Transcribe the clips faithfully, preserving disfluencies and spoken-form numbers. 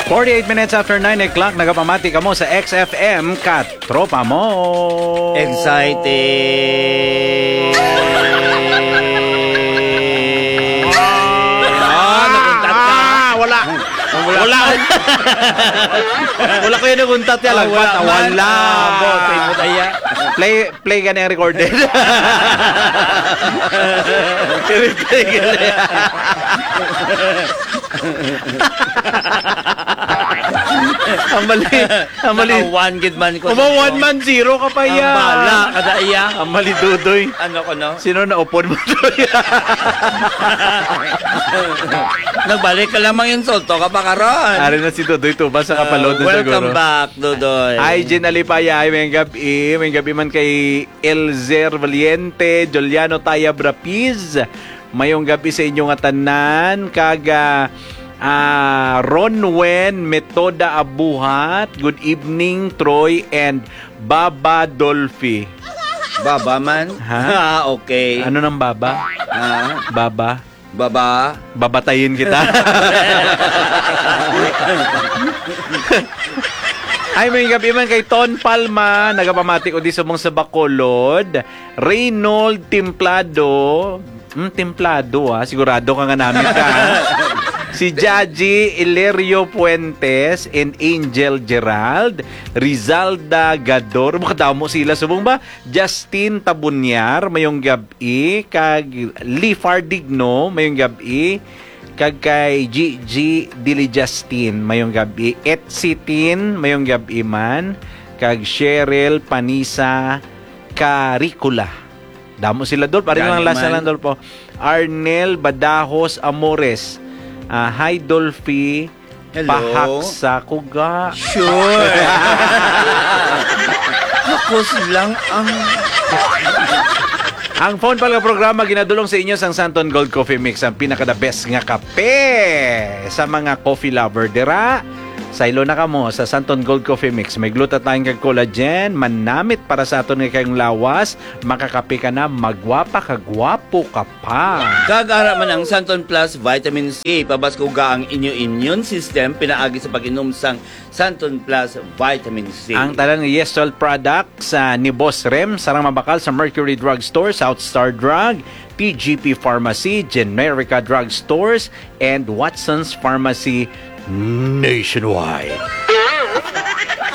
Forty-eight minutes after nine o'clock, nagapamati kamo sa X F M, Katropa Mo. Excited. Ah, naguntat ka. Ah, wala. Wala. Wala ko yung naguntat yan. Ah, wala man. Wala. Ah, boss, ay, putaya. Play, play ka na yung recorded. I-replay ka na yan. Ang mali, ang mali. Naka one gid man ko. Uma one man, zero ka pa. Ang iya. Bala, kada iya. Ang mali, Dudoy. Ano ko, no? Sino na upod mo, Dudoy? Nagbalik ka lang, mang insulto ka pa karon. Ari na si Dudoy Tuba sa kapalod na siguro. Oh, welcome back, Dudoy. Hi, Jean Alipaya. Hi, mayong gabi. Mayong gabi man kay Elzer Valiente, Juliano Taya Brapiz. Mayong gabi sa inyo nga tanan. Kag, ah, ah, Ronwen Metoda Abuhat. Good evening, Troy and Baba Dolphy. Baba man? Ha? Ah, okay. Ano nang baba? Ah. Baba? Baba? Babatayin kita. Ay, may gabi man kay Ton Palma, nagapamati ko di subong sa Bacolod. Reynold Templado. Hmm, Templado, ah. Sigurado ka nga namit ka, ah. Si Jaji Ilerio Fuentes and Angel Gerald. Rizalda Gador. Makadamo sila. Subong ba? Justin Tabunyar, mayong gab-i. Kag Lifar Digno, mayong gab-i. Kag kay Gigi Dili Justin, mayong gab-i. Etsitin, mayong gab-i man. Kag Cheryl Panisa Caricula. Damo sila, Dolph. Ari lang, last na lang, Dolph, oh. Arnel Badajos Amores. Ah, hi, Dolphy. Hello. Pahak sa kuga. Sure. Hakos lang ang Ang phone pala nga programa ginadulong sa inyo sang Santon Gold Coffee Mix, ang pinaka the best nga kape sa mga coffee lover dira. Saylo na kamo sa Santon Gold Coffee Mix. May glutathione kag collagen, manamit para sa aton nga kayong lawas. Makakape ka na, magwapa ka, gwapo ka pa. Kag ara man ang Santon Plus Vitamin C, pabaskuga ang inyo immune system pinaagi sa pag-inom sang Santon Plus Vitamin C. Ang tanan nga Yesol products, ah, ni Boss Rem, sarang mabakal sa Mercury Drug Store, South Star Drug, T G P Pharmacy, Generica Drug Stores, and Watson's Pharmacy nationwide.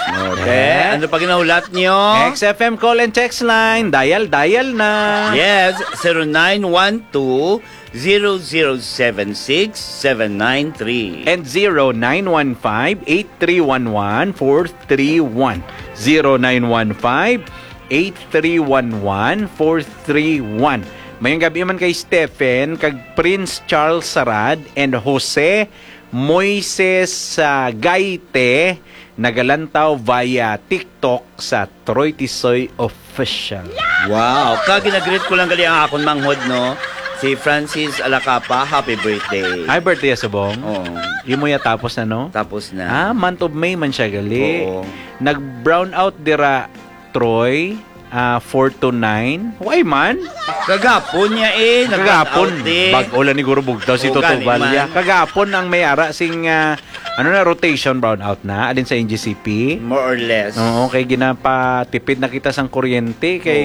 Okay. Eh? Ano pa ginahulat nyo? X F M call and text line. Dial, dial na. Yes, zero nine one two, zero zero seven six, seven nine three. And zero nine one five, eight three one one, four three one. Zero nine one five, eight three one one, four three one. Mayong gabi man kay Stephen, kag Prince Charles Sarad, and Jose Moises, ah, Gaite, nagalantaw via TikTok sa Troy Tisoy Official. Wow! Kag ginagreet ko lang gali ang akon manghod, no? Si Francis Alacapa, happy birthday. Ay, birthday, subong? Oo. Imo ya tapos na, no? Tapos na. Ah, month of May man siya gali. Oo. Nag-brown out dira, Troy, ah, four to nine. Why man? Kagapon niya eh, nag-brown out eh. Bag-o lang ni Guro Bugtaw si Toto Balya. Kagapon ang may ara sing, ah, ano na, rotation, brown out na, alin sa N G C P? More or less. Oo, kay ginapatipid na kita sang kuryente, kay,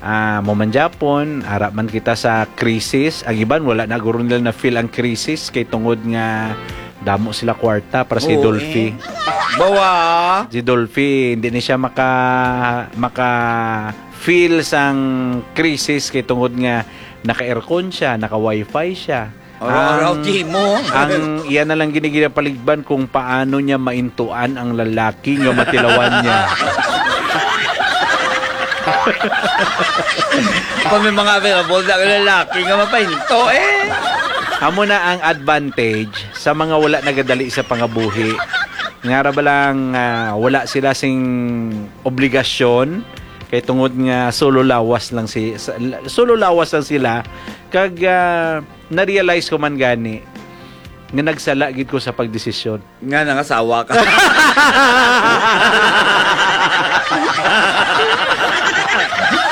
ah, mo man gyapon, ara man kita sa krisis. Ang iban, wala na guro nila na-feel ang krisis, kay tungod nga damo sila kwarta para si Dolphy. Bawa. Si Dolphy, hindi ni siya maka-, maka-feel sang krisis kay tungod nga naka-aircon siya, naka-wifi siya. Araw-araw ang, ang iya na lang gini ginapaligban kung paano niya maintuan ang lalaki nga matilawan niya. Kung may mga available na lalaki nga mapainto, eh. Amo na ang advantage sa mga wala nagadali sa pangabuhi. Nga ra ba lang, ah, wala sila sing obligasyon kay tungod nga solo lawas lang si, sa, solo lawas lang sila kag, ah, na-realize ko man gani nga nagsala gid ko sa pagdesisyon. Nga nangasawa ka.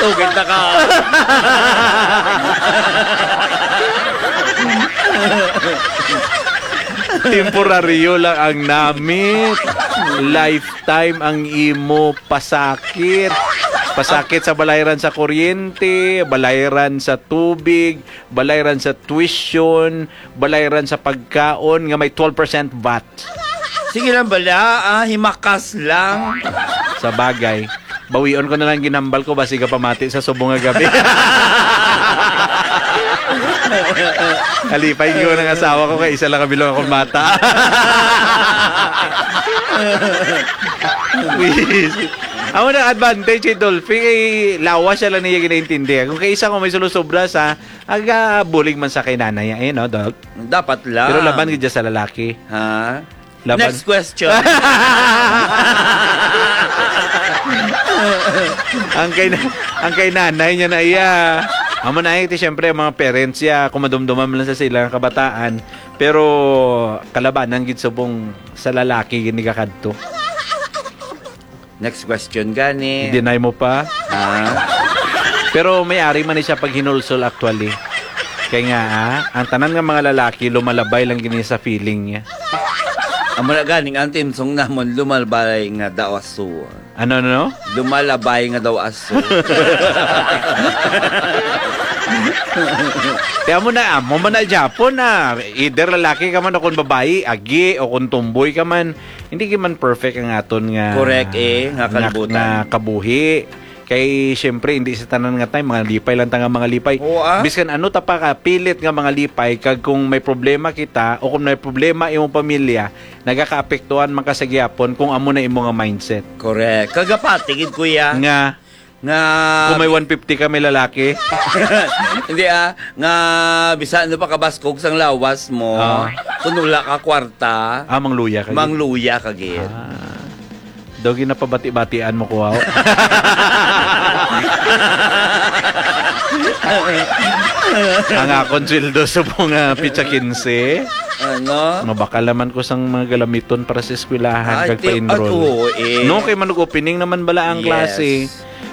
Tugid na ka. Temporaryo lang ang namit. Lifetime ang imo pasakit. Pasakit sa balayran sa kuryente, balayran sa tubig, balayran sa tuition, balayran sa pagkaon nga may twelve percent vat. Sige lang bala, ah, himakas lang. Sa bagay, bawion ko na lang ginhambal ko, basi ka pamati sa subong nga gabi. Alipay ko ng asawa ko kay isa lang kabilog akong bata. Please. Amo na advantage kay Dolphy, kay lawas siya lang niya ginaintindihan. Kung kay isa ko may sulusobra sa, aga bulig man sa kay nanay, eh, no, Dol? Dapat lang. Pero laban gid sa lalaki. Ha? Laban. Next question. Ang kay na-, ang kay nanay niya na iya. Amo na ito, siyempre, ang mga parents niya, kung madumduman man lang sa sila nga kabataan, pero kalabanan gid subong sa lalaki gid ni kakadto. Next question gani. I-deny mo pa? Ha? Pero may ari man ni siya pag hinulsol actually. Kay nga, ah, ang tanan nga mga lalaki lumalabay lang gini sa feeling niya. Amo na ganing ang timsong namon lumalabay nga daw aso. Ano, ano, no? Lumalabay nga daw aso. Kaya mo na, amo man na Japon na either lalaki ka man o kung babayi, agi, o kung tomboy ka man, hindi ka man perfect ang aton nga Correct, eh, nga nga, kalibutan. nga kabuhi. Kay, siyempre, hindi sa tanan nga time, mga lipay lang ta nga mga lipay. Oo, ah. Biskan ano ta pa ka pilit nga mga lipay, kag kung may problema kita o kung may problema imong pamilya, nagakaapektuhan man ka sa gihapon kung amo na imo nga mindset. Correct. Kagapati gid, kuya. Nga, Nga kung may one fifty ka, may lalaki. Hindi, ah, nga bisan ano pa kabaskog sang lawas mo, Ah. kung wala ka kwarta, Ah, mangluya ka gid. mangluya ka gid. Ah. Daw ginapabati-batian mo ko, aw. Ang akon sweldo sa mga pitsa quince, Ano? mabakal naman ko sang mga galamiton para sa eskwelahan Ay, kag ti-, pa-enroll. at oo, eh. No, kay manug-opening naman bala ang Yes. klase.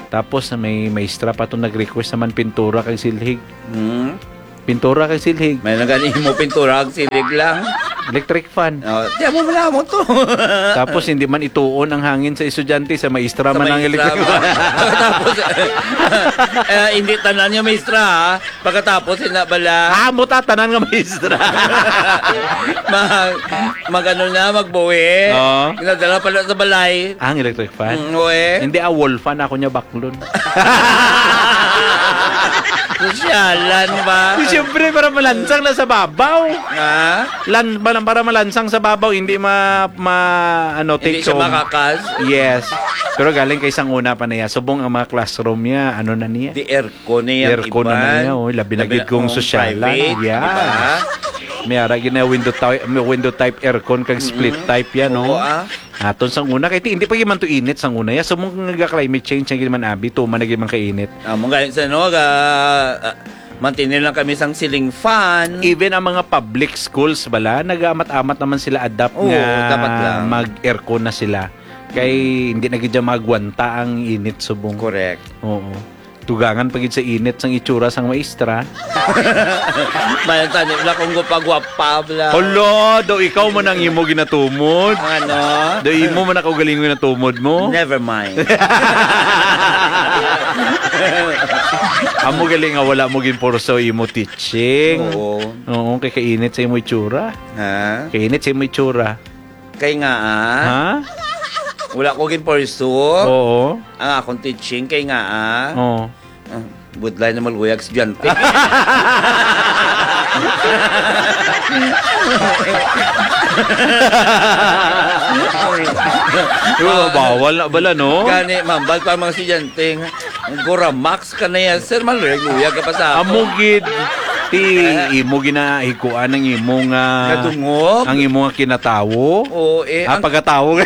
Tapos na may maestra pa to nag-request naman pintura kag silhig. Hmm. Pintura kag silhig. May nagani mo pintura kag silhig lang. Electric fan. Oh, di mo man mo to. Tapos hindi man ituon ang hangin sa estudyante, sa maestra Sa man ang maestra electric mo. fan. Tapos, eh, hindi tanan yung maestra, ha? Pagkatapos, ina bala. Ah, mo tatanan nga maestra. Mag, mag ano na, magbuhi. Oo. Nadala pala sa balay. Ang electric fan? Mm, oo, eh. Hindi, ah, wall fan ako niya baklon. Sosyalan ba? Di, siyempre, para malansang na sa babaw. Ha? Lan-, para, para malansang sa babaw, hindi ma-, ma-, ano, Hindi take siya home. makakas? Yes. Pero galing kay sang una pa niya. Subong ang mga classroom niya, ano na niya? Di aircon na yan, Aircon na iban. niya, oh. Labi na Labi gid na kung kung sosyalan. private, Yeah. di ba? May ara gid na window type, may window type aircon kag split Mm-mm. type yan, no? Oo, ah. Aton sang una, kay ti-, hindi pa gyud man to init sang una. Ya, so, mong nga climate change na gyud man, abi, tuman na gyud man kainit. Ah, mong gayon sa, no, ga-, ah, mantinil lang kami sang ceiling fan. Even ang mga public schools bala, nag-aamat-amat naman sila adapt Oo, nga dapat lang. mag-aircon na sila. Kay Mm. hindi na gyud dyan magwanta ang init subong. Correct. Oo. Tugangan pa gid sa init sang itsura sang maestra. Bayan tani, wala kong gupagwapa, bla. Hala, daw ikaw man ang imo ginatumod. Ano? Daw imo man ang kaugalingon ginatumod mo. Never mind. Amo gali nga wala mo ginporso imo teaching. Oo. Oo, kay kainit sa imo itsura. Ha? Kainit sa imo itsura. Kay nga, ah, Ha? wala ko ginporso. Oo. Ang akong teaching, kay nga, ah, Oo. ah, budlay na maluyag estudyante. Pero bawal na bala, no? Gani, mambal pa ang mga estudyante. Ang Goramax ka na yan, sir, maluyag-luyag ka pa sa ako. Amo gid, ti, Eh? imo ginahikuan ang imo nga, Nadungog? ang imo nga kinatawo. Oo, eh, Ah, ang pagkatawo.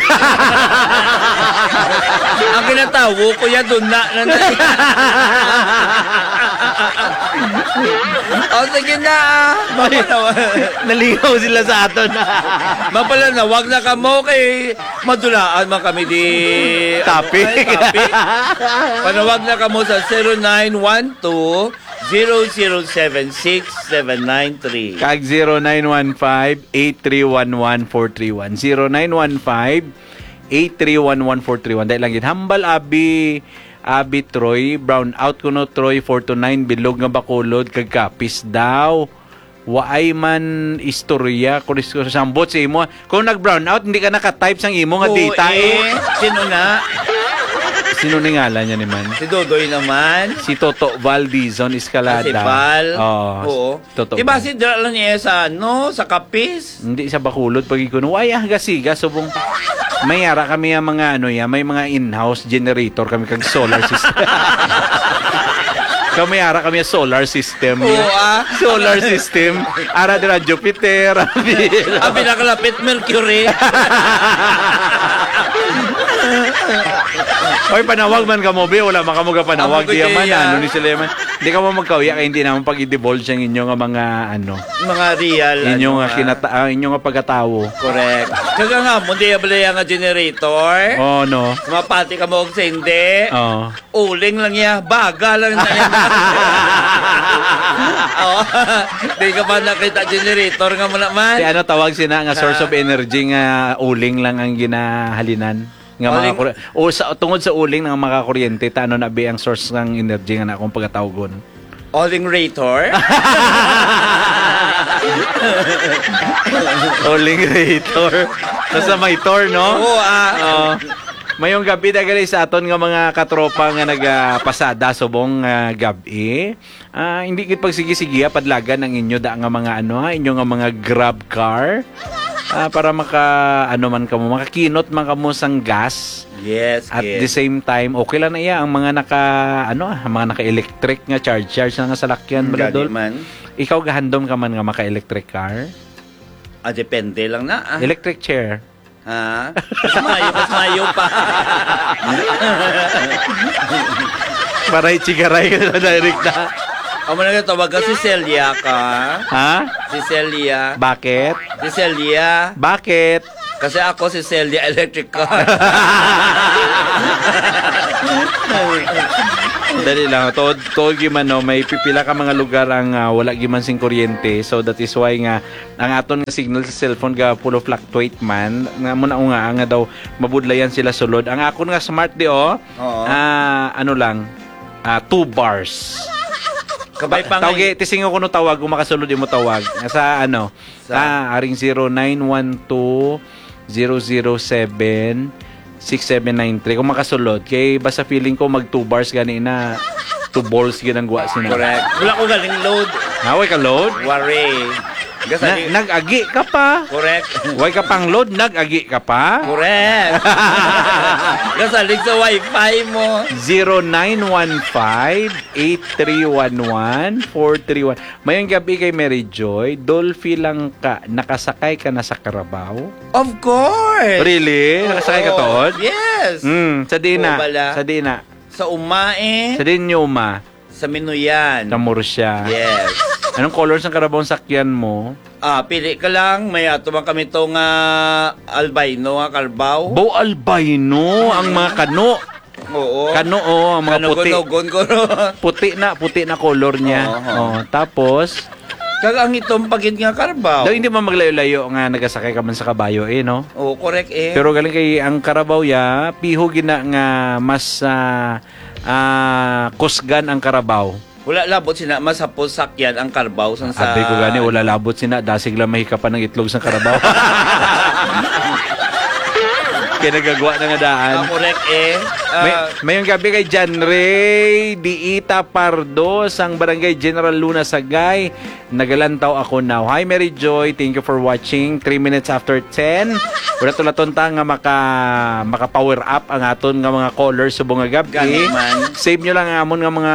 Ang kinatawo ko, ya, dun na, na, na. O, sige na, ah. Mapanawa-, Nalingaw sila sa aton. Mapalanawag na kamo kay madulaan man kami di, Topic. ano, ay, topic. Panawag na kamo sa zero nine one two, zero zero seven six seven nine three. Kag zero nine one five, eight three one one, four three one. Zero nine one five, eight three one one, four three one. Dahil lang gid, hambal, abi, abi Troy, brown out kuno, Troy, four to nine, bilog nga Bacolod, kag kapis daw. Waay man istorya, kung is-, sambot sa imo. Kung nag-brown out, hindi ka naka-type sang imo nga Oo, data, eh. eh. Sino na? Sino ni ngalan niya ni man? Si Dodoy naman. Si Toto Valdizon Escalada. Ah, si Val. Oo. Oo. Toto Di ba Val. si Dra lang niya sa, ano, sa Kapis? Hindi sa Bacolod, pag ikuno. Ay, ah, gasiga, subong. May ara kami ang mga, ano, ya, may mga in-house generator kami kag solar system. Kami ara kami solar system. Oo, ya. ah. Solar system. Ara dira Jupiter. Abi nakalapit, Mercury. Oy, panawag man kamo, be. Wala man kamo gapanawag. Amo ko Di man, kaya. ano ni sila man. Di ka mo magkauya kay hindi naman pag-i-divulge ang inyo nga mga, ano, Mga real, inyo ano nga nga. kinata-, ah, inyo nga pagkatawo. Correct. Kaga nga, mo di abli nga generator. Oh, no. Mapati ka mo og sa hindi. Oh. Uling lang niya. Baga lang na yan. Oh. Di ka pa nakita generator nga mo naman. Di ano tawag sina nga source Ah. of energy nga uling lang ang ginahalinan? Nga mga Uling- kuri-, o sa, tungod sa uling nga mga kuryente, ta ano na bi ang source ng energy nga na akong pagatawgon? Uling rator? Uling rator. Basta may tor, no? Oo, ah. Oo. Mayong gabi, dagali sa aton nga mga katropa nga nagapasada subong nga gabi. Ah, hindi gid pagsigi-sige, ah, padlagan ang inyo da nga mga ano, ha, inyo nga mga Grab car. Ah, para maka, ano man kamo, makakinot man kamo sang gas. Yes, At yes. the same time, okay lang na iya ang mga naka, ano, ah, mga naka-electric nga charge, charge na nga salakyan, Mm, Brad gani Dol. man. Ikaw, gahandom ka man nga maka-electric car? Ah, depende lang na, ah. Electric chair. Ha? Mas mayo, mas mayo pa. Maray chigaray ka na, direct na. Amo na nga, tawag ka si Celia ka. Ha? Si Celia. Bakit? Si Celia. Bakit? Kasi ako si Celia Electric ka. Dali lang. Tuod, tuod gyud man, no? May pipila ka mga lugar ang, ah, wala gyud man sing kuryente. So, that is why nga ang aton nga signal sa cellphone ga pulo fluctuate man, nga mo na nga, nga daw mabudlayan sila sulod. Ang akon nga smart di, oh, Oo. ah, ano lang, ah, two bars. Kabay pa nga Tawgi, tisingo ko no tawag, kung makasulod imo tawag. Sa ano? Sa Ah, aring zero nine one two, zero zero seven, six seven nine three. Kung makasulod, kay basta feeling ko mag two bars gani na, two balls ginanggwa sina. Correct. Wala ko galing load. Naway ka load? Wari. Kasi Na, nag-agi ka pa. Correct. Way ka pang load, nag-agi ka pa. Correct. Kasalig sa wifi mo. Zero nine one five, eight three one one, four three one. Mayong gabi kay Mary Joy. Dolphy lang ka, nakasakay ka na sa Carabao? Of course. Really? Nakasakay ka Oo. tuod? Yes. Mm, sa di na. Oo, bala. Sa di na. Sa Umae. Sa di nyo, ma? Sa Minuyan. Sa Murcia. Yes. Anong color sang Carabao ang sakyan mo? Ah, pili ka lang. May ato man kami to nga albino nga Carabao. Bo albino ang mga kano. Oo. Kano, oh, ang mga puti. Kanugon-ugon ko, no? Puti na, puti na color niya. Oo, oo. Oh, tapos? Kag ang itom pa gid nga Carabao. Daw hindi man maglayo-layo nga nagasakay ka man sa kabayo, eh, no? Oo, correct, eh. Pero galing kay ang Carabao ya, piho gina nga mas, ah, ah, kusgan ang Carabao. Wala labot sina, mas hapos sakyan ang Carabao sang sa Abi ko gani, wala labot sina, dasig lang mahikapan ang itlog sa Carabao. Kaya nagagwa na nga daan. Ah, correct, eh. May, Ah, mayong gabi kay John Ray Diita Pardo sang Barangay General Luna, Sagay. Nagalantaw ako now. Hi, Mary Joy. Thank you for watching. Three minutes after ten. Wala tulaton ta nga maka, maka-power up ang aton nga mga callers subong nga gab-, Gani eh. man. Save nyo lang ang amon nga mga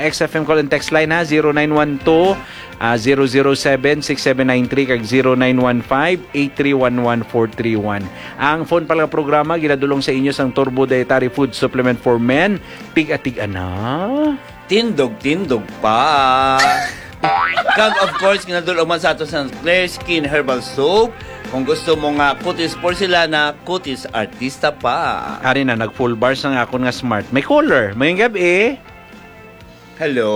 X F M call and text line, ha. Zero nine one two, ah, zero zero seven, six seven nine three kag zero nine one five, eight three one one, four three one. Ang phone pala nga programa ginadulong sa inyo sang Turbo Dietary Food Supplement for Men. Tiga-tiga na. Tindog-tindog pa. Kag of course, ginadulong man sa ato sa Clear Skin Herbal Soap. Kung gusto mo nga kutis porselana, kutis artista pa. Ari na, nag full bars ang akon nga smart. May color. Mayong gabi. Hello?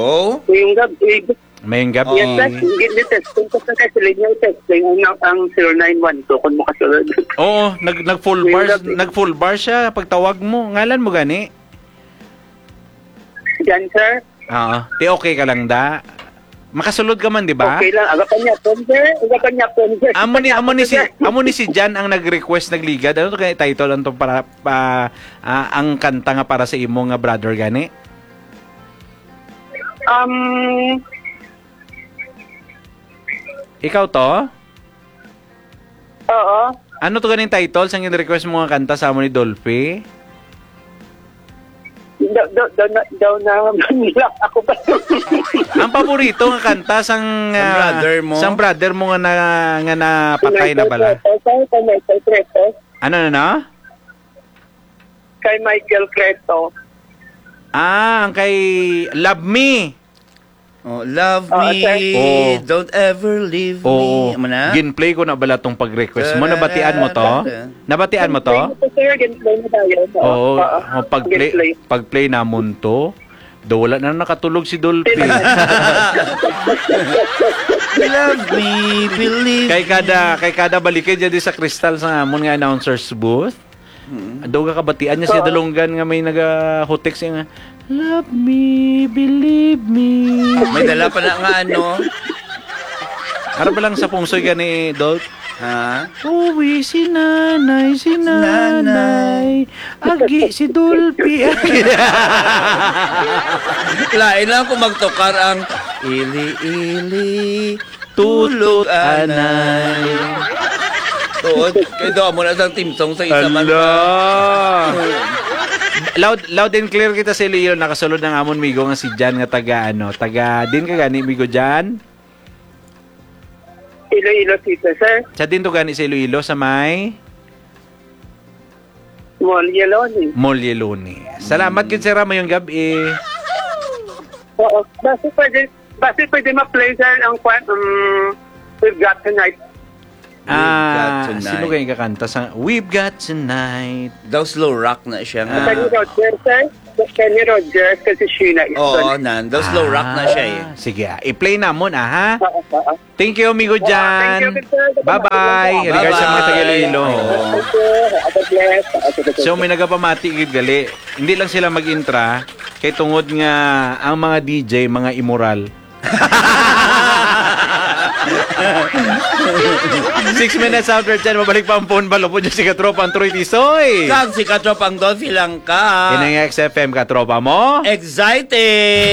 Ngayong gabi. Mayong gabi. Yes, sir. Hindi, hindi testing. Kasi kasi sila niya testing ang, ang zero nine one two kung makasunod. Oo, nag, nag full Ngayong bars, gabi. Nag full bar siya pagtawag mo. Ngalan mo gani? Jan, sir. Oo. Ti okay ka lang da? Makasulod ka man, di ba? Okay lang. Agapan niya po, sir. Agapan niya po, sir. Amo ni, amo ni si, amo ni si Jan ang nag-request, nagligad. Ano to kay title ang to para pa, ah, ang kanta nga para sa imo nga brother gani? Um, Ikaw to? Oo. Ano to ganing title sang in-request mo nga kanta sa amo ni Dolphy? Daw, daw, daw na, daw na, ako ba? Ang paborito nga kanta sang, Sang ah, brother mo? sang brother mo nga na, nga napatay na bala? Michael Creto, sir, kay Michael Creto. Ano na na? Kay Michael Creto. Ah, ang kay Love Me. Oh, love Oo, me, sir. Oh. don't ever leave Oo. me. Amo na? Ginplay ko na bala tong pag-request mo. Nabatian mo to? Tararara. Nabatian mo to? Ginplay ko, sir. Ginplay na tayo. Oo. Oo. Oo. Oh, pag-play, Ginplay. pag-play namon to. Do, wala na nakatulog si Dolphy. Love me, believe Kay kada, me. kay kada balikid dyan di sa kristal sa amon nga announcer's booth. Mm. Daw ka kabatian niya si Oo. Dalunggan nga may nagahutik siya nga, "Love me, believe me." May dala pa na nga ano. Ara ba lang sa pungsoy gani, Dol? Ha? Uwi si nanay, si Nanay. nanay. Agi si Dolphy. Lain lang kung magtukar ang ili-ili. Tutut, Tulog, anay. anay. Tuod, kay daw mo na sang theme song sa isa man. Ala. Loud, loud and clear kita sa Iloilo. Nakasulod ang amon migo nga si Jan nga taga, ano, taga, din ka gani, migo Jan? Iloilo City, sir. Sa din to gani sa Iloilo, sa may? Mall Yeloni. Mall Yeloni. Salamat gid, sir, ha, mayong gabi. Oo. Basi pwede, basi pwede ma-play, sir, ang kwan, um, We've Got Tonight. Ah, We've Got Tonight. sino kayo kakanta sa We've Got Tonight? Daw slow rock na siya nga. Ah. Kenny Rogers, sir. Kenny Rogers, kasi Sheena Easton. Oo, nan. Daw slow rock na siya eh. Ah, sige, ah. I-play namon, ah, ha? Oo, oo. Thank you, amigo Oo, Jan. thank you, sir. Bye-bye. Bye-bye. Regards sa mga taga Iloilo. Bye-bye. Thank you. God bless. Okay, okay. So, may nagapamati gid gali. Hindi lang sila mag-intra kay tungod nga ang mga D J mga immoral. Six minutes after ten, mabalik pa ang phone balo po dyan si Katropang Troy Tisoy. Kag si Katropang Dolphy lang ka. Yan ang X F M, Katropa mo. Exciting!